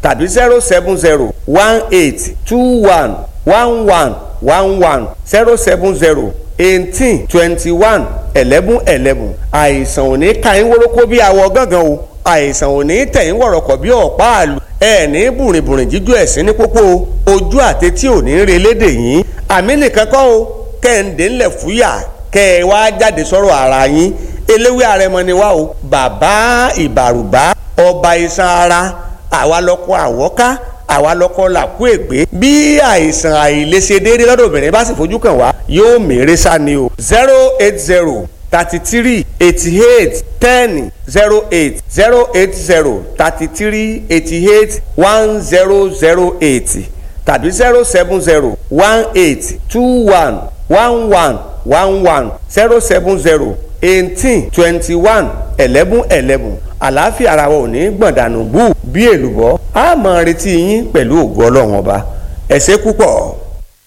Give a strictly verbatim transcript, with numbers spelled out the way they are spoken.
tàbí zero seven zero one eight two one one one one one zero seven zero eighteen twenty one eleven eleven. Àìsàn ò ní ka yín wórókó bí awọ gángan o, àìsàn ò ní tẹ̀ yín wọ̀rọ̀kọ̀ bí ọ̀pá àlù, ẹ̀ ní bùrìnbùrìn jíjó ẹ̀sìn ní pópó ojú àti tí ò ní relédè yín. Àmì nìkan kọ́ o, kẹ́hìndé ńlẹ̀ fúyà kẹ́ ẹ wá jáde sọ̀rọ̀ ara yín. Eléwé àrẹ̀mọ ni wá o, bàbá ìbàrùbá, ọba iṣan ara, àwa lọkọ àwọ́ká, àwa lọkọ làkú ègbé. Bí àìsàn àìlèṣe déédéé lọ́dọ̀ obìnrin bá sì fojú kàn wá, yóò mèrè sá ni o. Zero eight zero thirty three eighty eight ten zero eight, zero eight zero thirty three eighty eight one zero zero eight tàbí zero seven zero one eight two one one one one one, zero seven zero eighteen twenty one eleven eleven. Àlàáfíà ara wa ò ní gbọ̀ndànù bú bí èlùbọ́. A máa retí yín pẹ̀lú ògo Ọlọ́run Ọba. Ẹ ṣé púpọ̀.